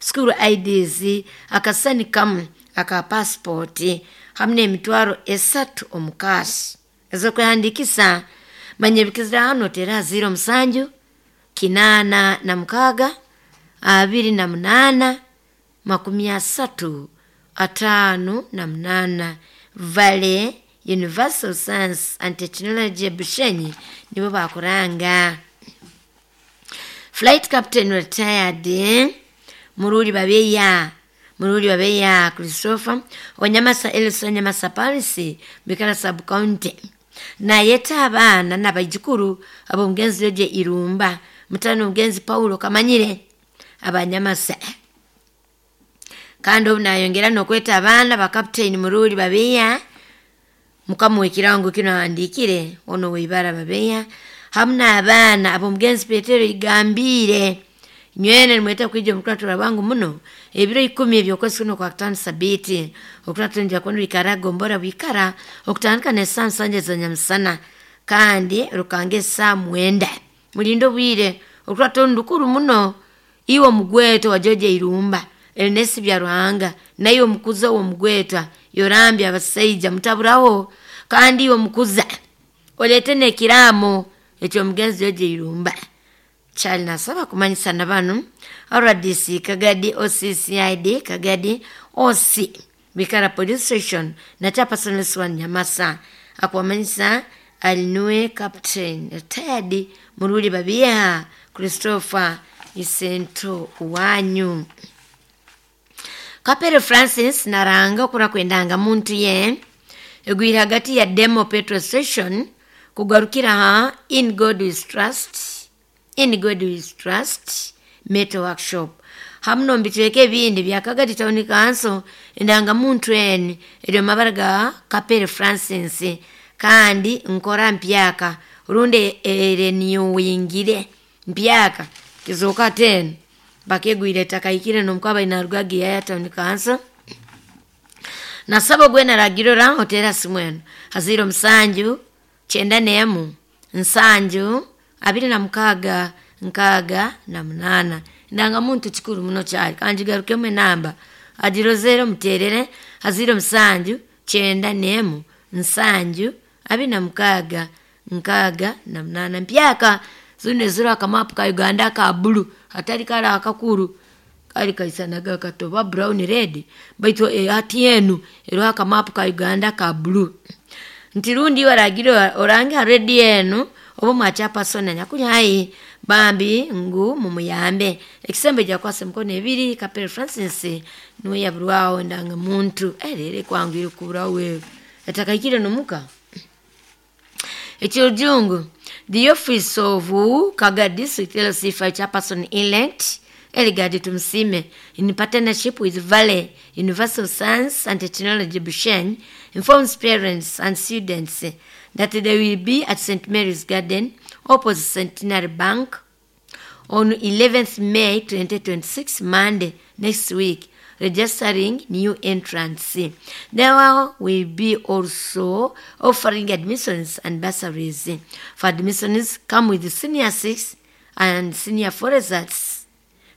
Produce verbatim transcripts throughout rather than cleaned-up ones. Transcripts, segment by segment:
School I Ds, akasani kamu aka passport, hamu n'emitwaro esatu omu cash. Ez'okwehandiikisa, manya ebikizira hano, tera ziro musanju kinaana na mukaaga abiri na munaana makumi asatu ataano na munaana. Valley Universal Science and Technology Bushenyi nibo bakuranga. Flight Captain retired Mururi Babeya, Mururi Babeya Christopher, Wanyamasa Elson, Nyamasa Paris, Bikara Sub County, nayeta abaana n'abaijukuru ab'omugenzi Yoje Irumba, mutano omugenzi Paulo Kamanyire, Abanyamasa. Kandi obu nayongera n'okweta abaana ba Captain Mururi Babeya, mukamuwa ekirango kino ahandiikire ono weibara Babeya, hamu n'abaana ab'omugenzi Petero Igambire. Nywene nimweta kwija omukuratura bwangu muno ebiro ikumi ebyokwezi kuno kwa kutano, sabiti okuratura nja kuno ikara gombora bwikara, okutandika n'esaa nsanja za nyamusana kandi rukanga esaa mwenda. Mulinde obwire, okuratura ndukuru muno. Iwe omugweto wa George Irumba Ernest Bya Ruhanga, naiwe omukuza w'omugwetwa Yorambya abasaija, mutaburaho. Kandi iwe omukuza oleete n'ekiraamo ekyomugenzi George Irumba. Kyali nasaba kumanyisa na banu R D C Kagadi, O C C I D Kagadi, O C Bikara Police Station na chairperson L C one Nyamasa. Akuwamanyisa alinue Captain retired Muruli Babiha Christopher, isento wanyu. Kapere Francis naranga okura kwendanga muntu ye egwire hagati ya Demo Petrol Station kugarukira ha In God We Trust, In God We Trust Metal Workshop, hamu nomubicweka ebindi bya Kagadi Town Council. Endangamuntu eni eri omu mabara ga Kapere Francis kandi nkora mpyaka rundi erenewingire mpyaka kizoka teni bakegwire ettaka ikire nomukaba inarugaga ya Town Council. Nasaba ogwe naragirora otera simu eno haziro musanju kyenda nemu nsanju abiri na mukaaga nkaaga na munaana. Endangamuntu kikuru muno kyali kangigarukemu enamba agirozere omuterere haziro musanju kyenda nemu nsanju abiri na mukaaga nkaaga na munaana. Mpyaka zino eziro akamapu ka Uganda aka bulu, hatari kali akakuru kali kaisanaga katoba brown red, baitu hati enu eriho akamapu ka Uganda ka bulu. Nti rundi waragire orange ha rediyo enu oba mwakyapasona nyakuli hai bambi ngu mumuyambe ekisembo gyakwasa emikono ebiri. Kapere Francis niwe yaburwaho endanga muntu erere kwangwire kuburaho wewe etakaikire nomuka. Ekirujungu, the office of Kagadi District L C five chairperson elect Eligadi Tumsime, in partnership with Valley Universal Science and Technology Bushenyi, informs parents and students that they will be at Saint Mary's Garden, opposite Centenary Bank, on eleventh May twenty twenty-six, Monday next week, registering new entrants. There will be also offering admissions and bursaries. For admissions, come with senior six and senior four results,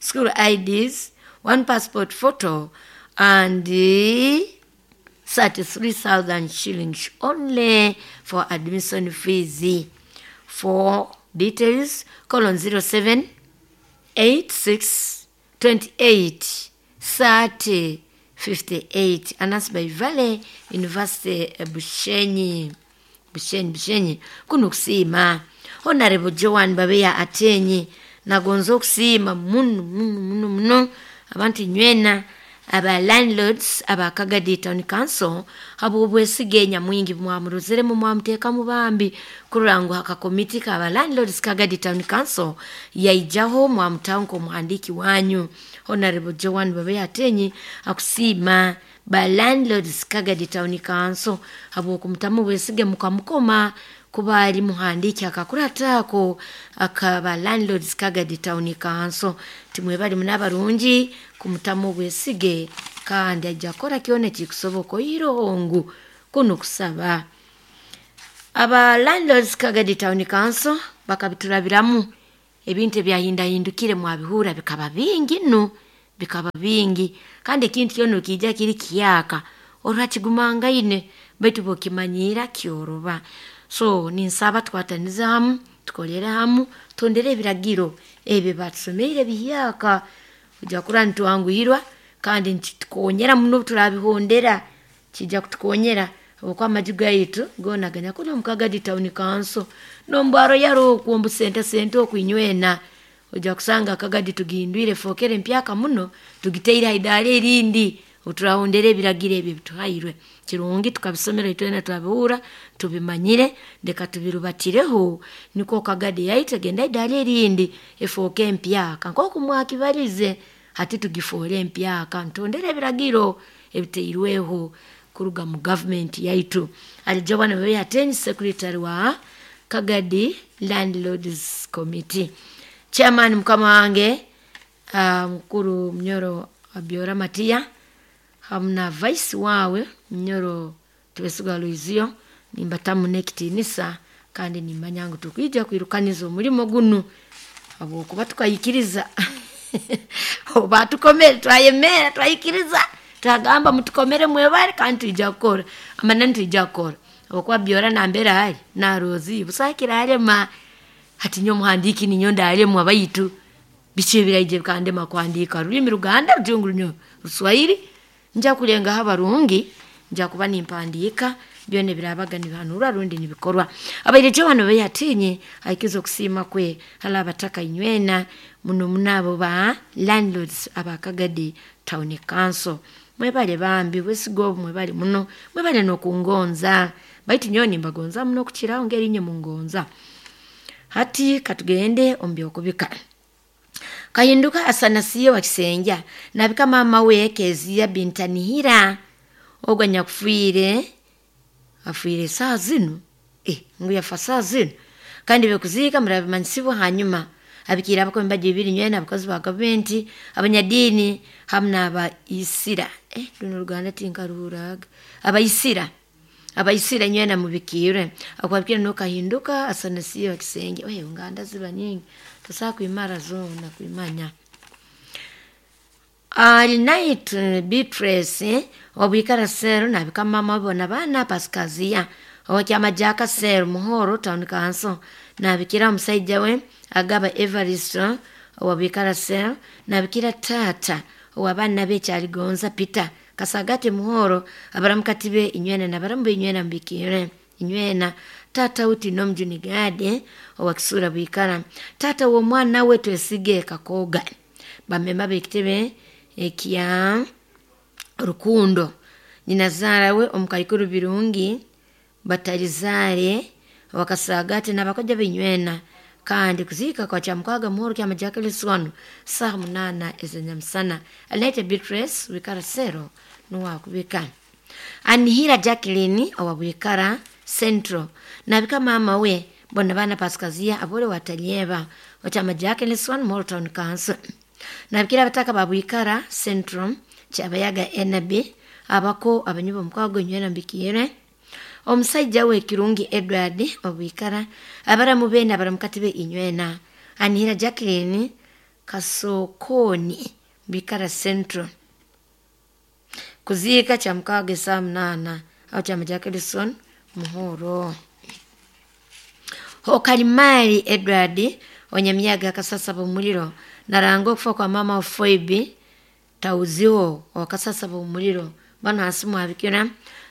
school I Ds, one passport photo, and uh, thirty-three thousand shillings only for admission fees. For details, call on zero seven eight six twenty-eight thirty fifty-eight. Announced by Valley University Bushenyi. Bushenyi, Bushenyi. Kuno kusiima Honorable Joan Babeya Atenyi nagonza okusiima muno muno muno muno abantu nywena aba landlords aba Kagadi Town Council habwobwesige nyamwingi mwamurozeremu mwamuteekamu bambi kurora ngu akakomiti kaba landlords Kagadi Town Council yaijaho mwamutaho nk'omuhandiiki wanyu. Honorable Joan Babeya Atenyi akusiima ba landlords Kagadi Town Council habwokumutamu obwesige mukamukoma kuba ali muhandiiki akakurata ako akaba landlords Kagadi Town Council. Timwebali muno abarungi kumutamu obwesige kandi ajja kukora kyona ekikusoboka oiroho ngu kuno kusaba aba landlords Kagadi Town Council bakabiturabiramu ebintu ebyahindahindukire mwabihura bikaba bingi nno. Bikaba bingi kandi ekintu kyona okiija kiri kihyaka orakigumangaine, baitu bw'okimanyira kyoroba. So ninsaba tukwatanize hamu, tukolere hamu, tuhondere ebiragiro ebi baatusomeire bihyaka, ojja kurora nitwanguhirwa kandi nikitukonyera muno obu turaabihondera, kiija kutukonyera habwokuba amaju gaitu goona ganyakuli omu Kagadi Town Council n'omu bwa Royal oku omu busente sente oku inywena, ojja kusanga Kagadi tugihindwire efookere mpyaka muno, tugitaire ha idaara erindi obu turahondera ebiragiro ebi ebituhairwe. Kirungi tukabisomera itwena twabihurra, tubimanyire, leka tubirubatireho nukwo Kagadi yaitu egende ha idaara erindi efooke mpyaka nkooku mwakibalize, hati tugifoole empyaka nituhondera ebiragiro ebitairweho kuruga mu gavumenti yaitu. Alijobwa Nababehi Ateenyi, secretary wa Kagadi Landlords Committee. Chairman mukama wange uh, mukuru Munyoro Abiora Matiya hamu na vice wawe Munyoro Twesigwa Luizio, nimbatamu n'ekitiinisa kandi nimanya ngu tukwija kwirukaniza omulimo gunu habwokuba tukayikiriza oba tukomere twayemera twayikiriza twagamba mutukomere mwebale kandi twija kukora amanani twija kukora habwokuba Biora nambere ali narozi busaho ekiraalema. Hati nyowe omuhandiiki ninyowe ndaalemwa, baitu biki ebiraije bikandema kuhandiika rulimi Ruganda, Rujungu, Runyo, Ruswahili, nja kulengaho abarungi, nja kuba nimpandiika byona ebiraabaga nibihanurwa rundi nibikorwa. Abaire Joan Beyatinye aikiza okusiima kwe hali abataka inywena muno muno abo ba landlords aba Kagadi Town Council. Mwebale bambi bwesiga obu mwebale muno, mwebale n'okungonza, baitu nyowe nimbagonza muno okukiraho ngeri inye mungonza. Hati katugende omu by'okubika. Kahinduka Asanasiyo wa Kisenja nabika maama we Kezia Bintanihira ogwo anyakufiire afiire saaha zinu, eh, ngu yafa saaha zinu, kandi ebyokuziika murabimanyisibwa hanyuma. Abikiire abakomi baja ibiri nywena, abakozi ba gavumenti, abanyadiini hamu n'abaisira, eh, runu Oruganda tinkaruhurraga, abaisira, abaisira inywena mubikiirwe. Akwabikire nuwe Kahinduka Asanasiyo wa Kisenja. Oye nganda ziba nyingi, tosobola kwimara zoona kwimanya. Alinaite Beatrice obwikara Seru nabika mama we na baana Pasikaziya owakyama Jack Seru Muhoro Town Council, nabikira omusaija we Agaba Evaristo owabwikara Seru, nabikira taata ow'abaana be Kyaligonza Peter Kasagati Muhoro, abaramukati be inywena nabaramu be inywena mubikiire inywena, taata uti n'omujuni Gadi owa Kisura bwikara, taata w'omwana we Twesige Kakoga, bamemba b'ekitebe ekya Rukundo, nyinazaara we omukaikuru Birungi Batalizaare owakasagati n'abakoja b'inywena, kandi kuziika kwa Kyamukaaga Muhoro kyama Jacqueline wanu saaha munaana ez'enyamusana. Alinaite Beatrice wikara Sero nuwe akubika. Anihira Jacqueline owa Bwikara Central nabika maama we bona baana Pasikaziya abole watalyeba okyama Jacqueline wanu Muhoro Town Council, nabikira abataka ba Bwikara Central Kyabayaga Enabi abako abanywi b'omukwago inywena mbikiire, omusaija we Kirungi Edward obwikara, abaramu be n'abaramukati be inywena. Anihira Jacqueline Kasokoni Bwikara Central, kuziika Kyamukaaga esaaha munaana aho kyama Jacqueline Muhoro. Hokalimali Edward onyamyaga akasasaba omuliro naranga okufa kwa maama wa Phoebe Tauziho owakasasaba omuliro bano hansi mwabikira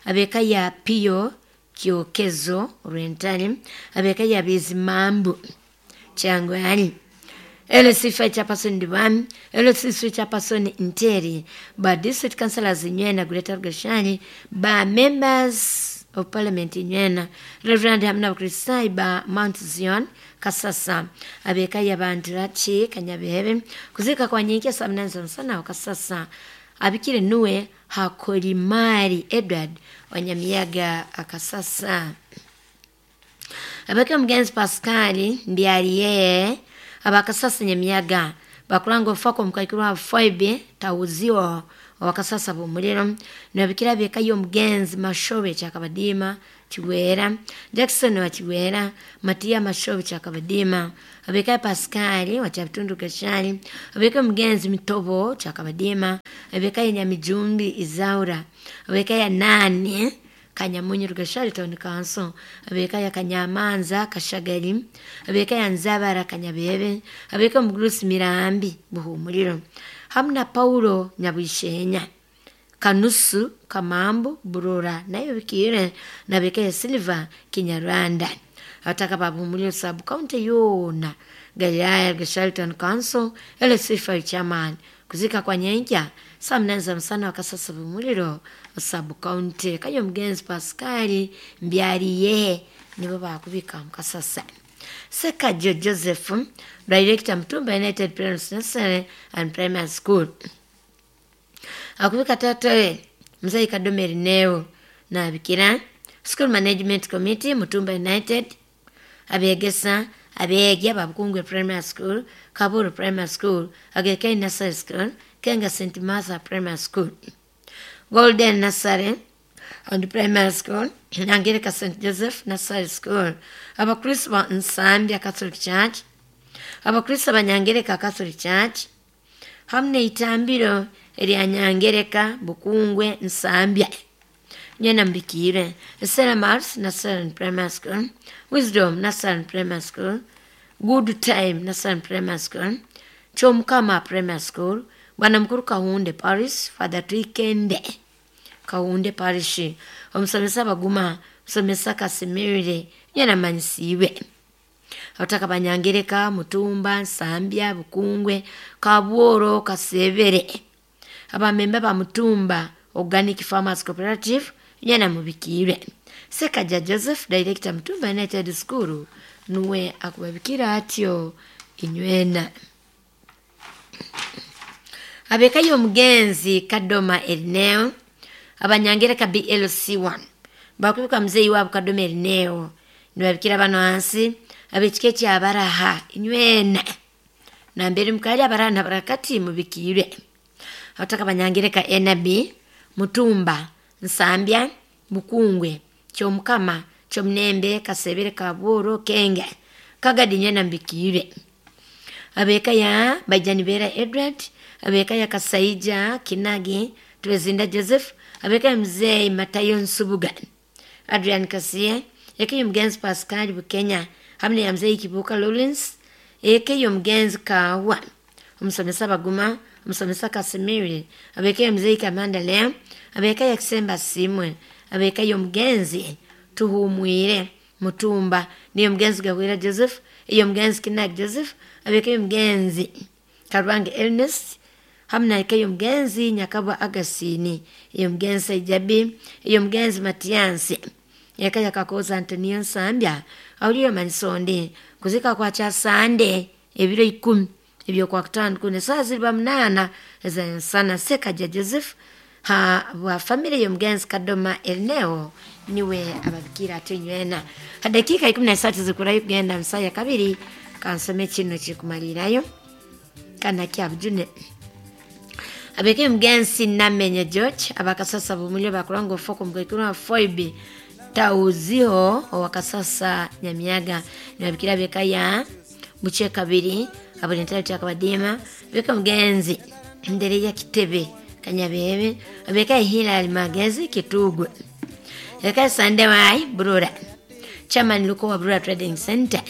ab'eka ya Pio Kyokezo Rwentale, ab'eka ya Bizimambu Kyangwali, L C five chairperson Diwami, L C three chairperson Nteri, ba district councillors inywena Greater Rugashani, ba members of parliament inywena, Reverend hamu n'Abakristaayo ba Mount Zion Kasasa, ab'eka ya Banturaki Kanyabihebe, kuziika kwa nyenkya saa munana z'omusana aho Kasasa. Abikire nuwe Hakolimali Edward Wanyamiyaga Akasasa. Abake omugenzi Pascal Mbyariye abakasasa Nyamiyaga bakulanga okufa kw'omukaikuru wa Phoebe Tauziho Owakasasa Bumuliro nabikira bekayo omugenzi Mashobe Kyakabadima Kiwera Jackson wa Kiwera Matia Mashobe Kyakabadima abeka Pascal wa Kyabitundu Gashali abeka omugenzi Mitobo Kyakabadima abeka Nyamijumbi Izaura abeka ya nani Kanyamunyu Rugashali Town Council abeka ya Kanyamanza Kashagali abeka ya Nzabara Kanyabebe abeka Mugurusi Mirambi Buhumuliro hamna Paulo Nyabwishenya Kanusu Kamambu Burora nayo bikire na beka ya Silva Kinyarwanda ataka Babuhumuliro sub county yona Galilaya Rugashali Town Council L C five chairman kuzika kwa nyenja saa mnane za msana wakasasa Bumuliro sub county kayo mugenzi Pascal Mbyariye nibo bakubika mukasasa. Sekajo Joseph director Mtumba United Parents Nursery and Primary School akubika tatawe mzai Kadomeri Neo na bikira School Management Committee Mutumba United abegesa abegya Babukungwe Primary School Kaburu Primary School Agekei Nursery School Kenga Saint Martha Primary School Golden Nursery and Primary School Angelica Saint Joseph Nursery School Abakristo ba Nsambya Catholic Church Abakristo ba Nyangereka Catholic Church hamne itambiro erya Nyangereka Bukungwe Nsambya nyena mbikire Sarah Mars Nursery Primary School Wisdom Nursery Primary School Good Time Nursery Primary School Chomkama Primary School Bwana Mkuru Kahunde Paris Father Twikende Kahunde Parish omusomesa Baguma musomesa Kasimire nyena manyisiwe abataka Banyangereka Mutumba Nsambya Bukungwe Kabworo Kasebere abamemba ba Mutumba Organic Farmers Cooperative nyana mubikire. Sekaja Joseph director Mutumba United School nuwe akubabikira atyo inywena. Abekayo omugenzi Kadoma Erneo Abanyangereka B L C one bakubika mzeyi wabo Kadoma Erneo nibabikira bano hansi abekike kyabaraha inywena nambere mukali abaraha nabarakati mubikire. Abataka Banyangereka N B Mutumba Nsambya Bukungwe Kyomukama Kyomnembe Kasebere Kaburo Kenge Kagadi nyena mbikire. Abeka ya Bajanibera Edward abeka ya Kasaija Kinagi Twezinda Joseph abeka ya mzee Matayo Nsubuga Adrian Kasie eke mgenzi Pascal Bukenya hamne ya mzee Kibuka Lawrence eke mgenzi Kawa omusomesa Baguma omusomesa Kasimiri abeka ya mzee Kamanda Lea abeka ya Kisemba Simwe abeka ya mgenzi Tuhumwire Mutumba niyo mgenzi Gawira Joseph iyo mgenzi Kinagi Joseph abeka ya mgenzi Karwange Ernest hamna eke mgenzi Nyakabwa Agasini iyo mgenzi Saijabi iyo mgenzi Matiansi yakaya Kakoza Antonio Nsambya auliyo manisonde kuzika kwa cha Sande ebiro ikumi ebyo kwa kutano kune saa ziliba mnana za sana. Sekaja Joseph ha wa familia ya mgenzi Kadoma Erneo niwe ababikira atinywena. Hadakika ikumi na satu zikurayo kugenda msaya kabiri kansome kino kikumalirayo kana kyabujune. Abeke mgenzi Namenye George abakasasa Bumuliro bakurango foko mgekuru wa Foibi Tauziho owakasasa Nyamiaga nabikira bekaya buche kabiri abulentali kyakabadima beka mgenzi Ndere ya Kitebe Kanyabebe abeka Hilali Magezi Kitugwe eka Sande wai Burura chairman Luko wa Burura Trading Center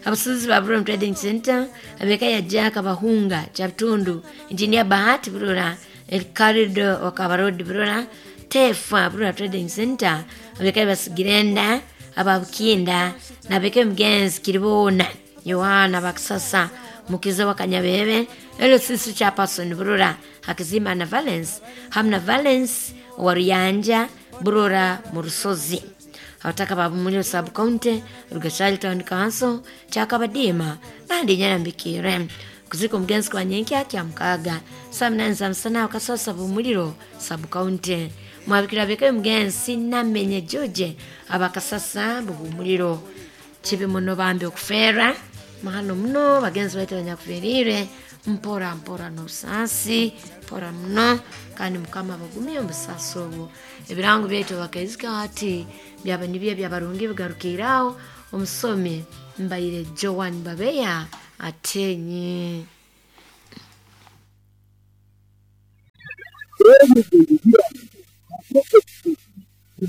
abasuzi ba Burura Trading Center abeka ya Jaka Bahunga Chatundu Engineer Bahati Burura Elkarido wa Kabarodi Burura Tefa Burura Trading Center abeka basigirenda ababukinda nabeke mgenzi Kiribona Yohana bakisasa mukiza wa Kanyabebe elo sisu cha person Burura Hakizima na Valence hamna Valence waruyanja Burura Murusozi abataka Babumuliro sub county Rugashali Town Council Kyakabadima nandi nyarambikire kuzika omugenzi kwa nyenkya kya mukaga saa munani za musana wakasasa Bumuliro sub county mwabikira beka omugenzi Namenye George abakasasa Bumuliro kibi muno bambi okufera mahano muno bagenzi baitu banyakuferire Mpora mpora n'obusaasi, mpora muno, kandi Mukama abagumye omu busaasi obwo. Ebirango byaitu bakaizika hati byaba nibyo ebyabarungi bigarukiire aho. Omusomi mbaire Joan Babeya atenye.